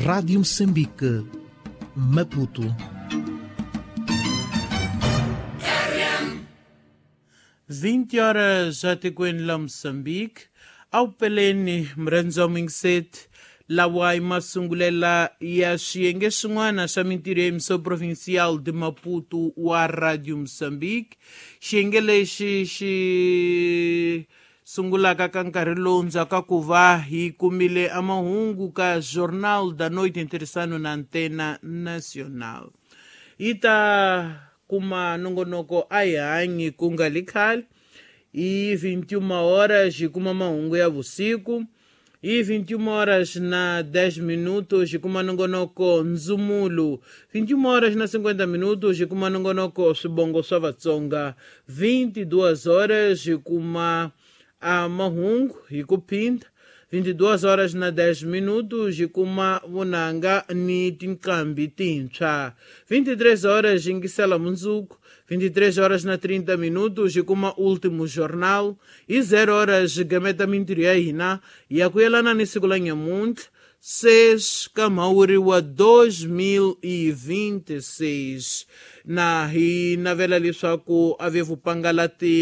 Rádio Moçambique, Maputo. 20 horas atikweni la Moçambique, awupeleni mrhendzo mingiseti lawa i masungulela ya swiyenge swin'wana swa mintirho ya emissão provincial de Maputo wa Radio Moçambique. Xiyenge lexi xi sungulaka ka nkarhi lowu ndzhaku ku va hi kumile amahungu ka Jornal da Noite ntirhisano na Antena Nacional. Yi ta kuma nongonoko a hi hanyi ku nga li khale hi 21 horas hi kuma mahungu ya vusiku. Hi 21 horas na 10 minutos hi kuma nongonoko ndzumulo. 21 horas na 50 minutos hi kuma nongonoko swibongo swa Vatsonga. 22 horas hi kuma a mahungu hi ku phinda. 22 horas na 10 minutos hi kuma vunanga ni tinqambi tintshwa. 23 horas yingisela mundzuku. 23 horas na 30 minutos hi kuma último jornal. Hi 0 horas gameta mintirho ya hina ya ku yelana ni siku la nyamuntlha 6 ka Mhawuri wa 2026, na hi navela leswaku a ve vupangalati.